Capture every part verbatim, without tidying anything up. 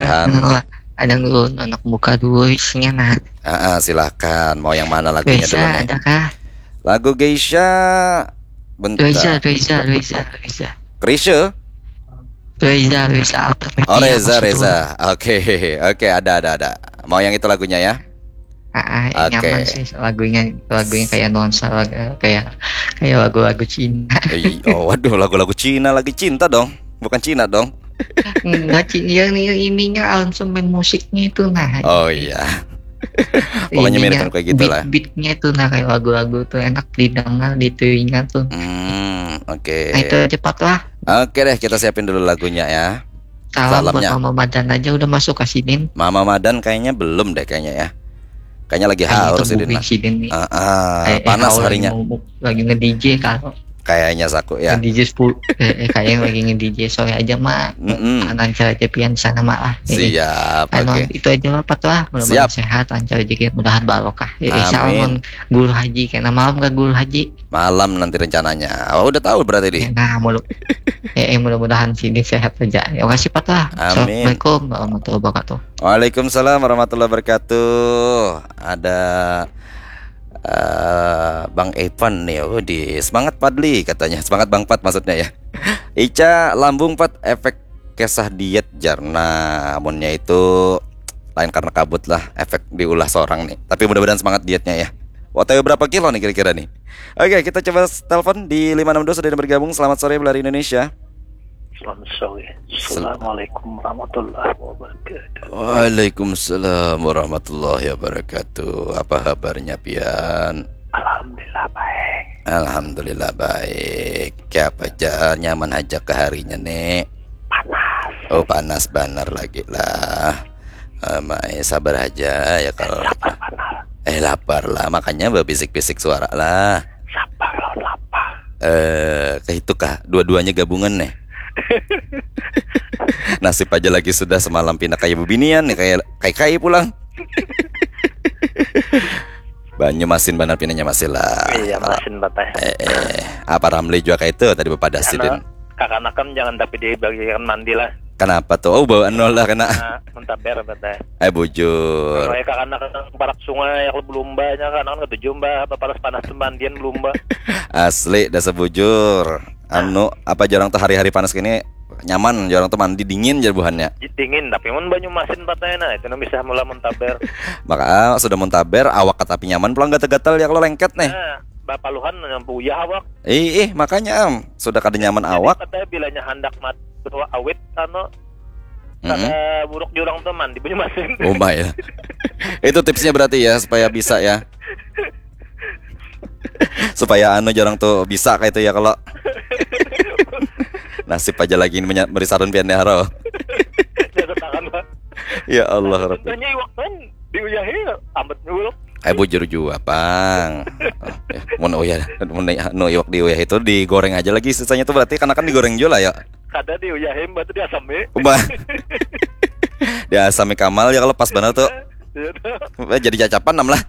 Nah, ada dulu anak muka dua isinya nah. Ah, ah, silakan. Mau yang mana lagunya dulu Reza nih? Adakah? Lagu Geisha. Bentar. Reza Reza Reza Reza Krisye? Reza Reza Artamevia Oh, Reza, maksud Reza. gua. Oke, oke, ada, ada, ada. Mau yang itu lagunya ya? Ah, ah, Oke. Nyaman sih lagunya, lagunya kayak nuansa lagu- kayak kayak lagu-lagu Cina. Ih, oh, waduh, lagu-lagu Cina lagi cinta dong. Bukan Cina dong. Enggak sih, yang ini- ininya aransemen musiknya itu nah. Oh iya. Pokoknya mirip Ininya, kayak gitu lah. Beat-beatnya itu nah kayak lagu-lagu tuh enak didengar di telinga tuh. Hmm, oke. Nah itu aja Pat lah. Oke deh, kita siapin dulu lagunya ya. Salam Salamnya. Buat Mama Madan aja udah masuk ke sini. Mama Madan kayaknya belum deh kayaknya ya. Kayaknya lagi Kayaknya haus itu sih Dina. Bubik sini. Ah, ah, Eh, eh, panas kau lagi harinya. mau- lagi nge-D J kalau Kayaknya saku ya. Nge-D J sepuluh eh, eh, kayaknya lagi nge-D J sore aja mah. Mm-mm. Lancar aja pian sana mah lah. Eh, eh. Siap, Anu, oke. Itu aja lah Pat lah. Mudah-mudahan Siap. Sehat, lancar rezeki, mudahan barokah. Eh, eh, Amin. Salam Guru Haji, kena malam gak Guru Haji? Malam nanti rencananya. Oh, udah tahu berarti di. Eh, Nah, mudah eh, eh, mudah-mudahan sini sehat aja. Ya kasih Pat lah. Amin. Assalamualaikum warahmatullahi wabarakatuh. Waalaikumsalam warahmatullahi wabarakatuh. Ada eh, Bang Evan nih, oh, di semangat Padli katanya, semangat Bang Pat maksudnya ya. Ica lambung Pat efek kisah diet jar. Nah, amunnya itu lain karena kabut lah efek diulah seorang nih. Tapi mudah-mudahan semangat dietnya ya. OTW berapa kilo nih kira-kira nih? Oke, kita coba telepon di lima enam dua sudah ada bergabung. Selamat sore Belari Indonesia. Selamat sore. Assalamualaikum warahmatullahi wabarakatuh. Waalaikumsalam warahmatullahi wabarakatuh. Apa kabarnya pian? Alhamdulillah baik. Alhamdulillah baik. Siapa aja nyaman aja ke harinya nih? Panas. Oh, panas banar lagi lah. Eh, Mai, sabar aja ya kalau Lapar panas. Eh, lapar lah, makanya berbisik-bisik suara lah. Sabar lawan lapar. Eh, kayak itu kah? Dua-duanya gabungan nih. Nasib aja lagi sudah semalam pindah kayak bebinian nih, kayak kayak kayak pulang. Banyu masin banar pinanya masih lah. Iya, masin batah. Eh, eh, apa Ramli juga kayak itu tadi bepadah sidin. Kakanakan jangan tapi dibagikan mandi lah. Kenapa tuh? Oh, bawaan nol lah kena. Nah, muntaber batah. Eh, bujur. Kayak kakanakan parak sungai, kalau belumba nya kakanakan ketujuh mbak, apa panas-panas tuh mandian belumba. Asli, dasar bujur. Anu, apa jarang tuh hari-hari panas gini nyaman, jarang tuh mandi dingin aja buhannya. Dingin, tapi mun banyu masin patahnya nah, itu nang bisa mula muntaber. Maka ah, sudah muntaber, awak tapi nyaman pulang gatal-gatal ya kalau lengket nih. Nah, bapaluhan nyampu uyah awak. Ih, ih, makanya am, sudah kada nyaman awak. Katanya bilanya handak mat awit anu Mm-mm. kada buruk jurang tuh mandi banyu masin. Oh my ya. Itu tipsnya berarti ya supaya bisa ya. Supaya anu jarang tuh bisa kayak itu ya kalau nasib aja lagi ini menya- merisarun pian ya, Ro. Jaga tangan lah. Ya Allah Rabbi. Contohnya iwak kan diuyahi amat nyuluk. Eh, bujur juga, Pang. Oh, ya. Mun uyah, mun anu iwak diuyah itu digoreng aja lagi sisanya tuh berarti kan akan digoreng juga lah ya. Kada diuyahi mbak tuh diasami. Ubah. Diasami kamal ya kalau pas benar tuh. Iya tuh. Eh, jadi cacapan nam lah.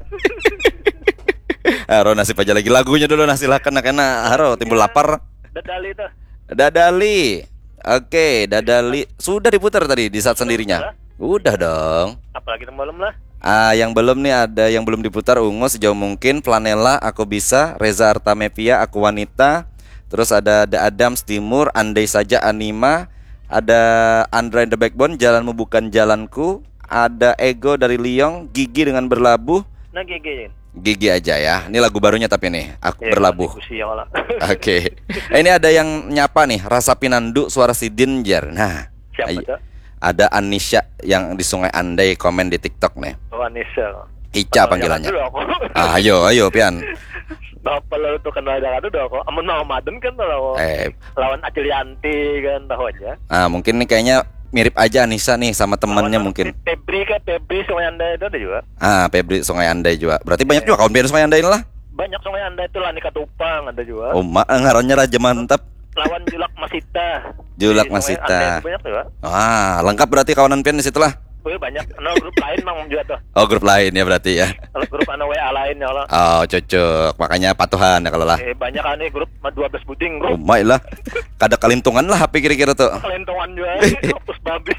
Aro nasib aja lagi lagunya dulu nah silakan nah kena haro timbul lapar. Dadali tuh. Dadali. Oke, Dadali sudah diputar tadi di saat sendirinya. Udah dong. Apalagi yang belum lah. Ah, yang belum nih ada yang belum diputar ungu sejauh mungkin Planela, Aku Bisa, Reza Artamevia, Aku Wanita, terus ada The Adams Timur, Andai Saja Anima, ada Andra and the Backbone, Jalanmu Bukan Jalanku, ada Ego dari Liong, Gigi dengan Berlabuh, Nah gigi. Gigi aja ya. Ini lagu barunya tapi nih, Aku Ya, Berlabuh. Diskusi ya lah. Oke. Eh, ini ada yang nyapa nih, Rasa Pinandu suara sidin jar. Nah, Siapa ayo. Tuh? Ada Anisha yang di Sungai Andai komen di TikTok nih. Oh Anissa. Ica panggilannya. Dulu aku. Ah, ayo, ayo pian. Apa lalu tuh kenal dengan itu aku. Amun mau Maden kan tahu. Eh, Lawan Acilianti kan tahu aja. ah mungkin nih kayaknya mirip aja Anissa nih sama temannya Lawan mungkin. Febri kan Febri Sungai Andai itu ada juga. Ah, Febri Sungai Andai juga. Berarti banyak juga kawan pian Sungai Andai lah. Banyak Sungai Andai itu lah Nika Tupang ada juga. Oh, ma- ngarannya Raja Mantap. Lawan Julak Masita. Julak Di Sungai Masita. Andai itu banyak juga. Ah, lengkap berarti kawanan pian di situ lah. Wih banyak. Nah grup lain mang juga tuh. Oh, grup lain ya berarti ya. Kalau grup anu W A lain ya kalau. Oh, cocok. Makanya patuhan ya kalau lah. Eh, banyak aneh grup dua belas buding Oh, grup. my lah. Kada kalintungan lah H P kira-kira tuh. Kelentongan juga. Hapus babis.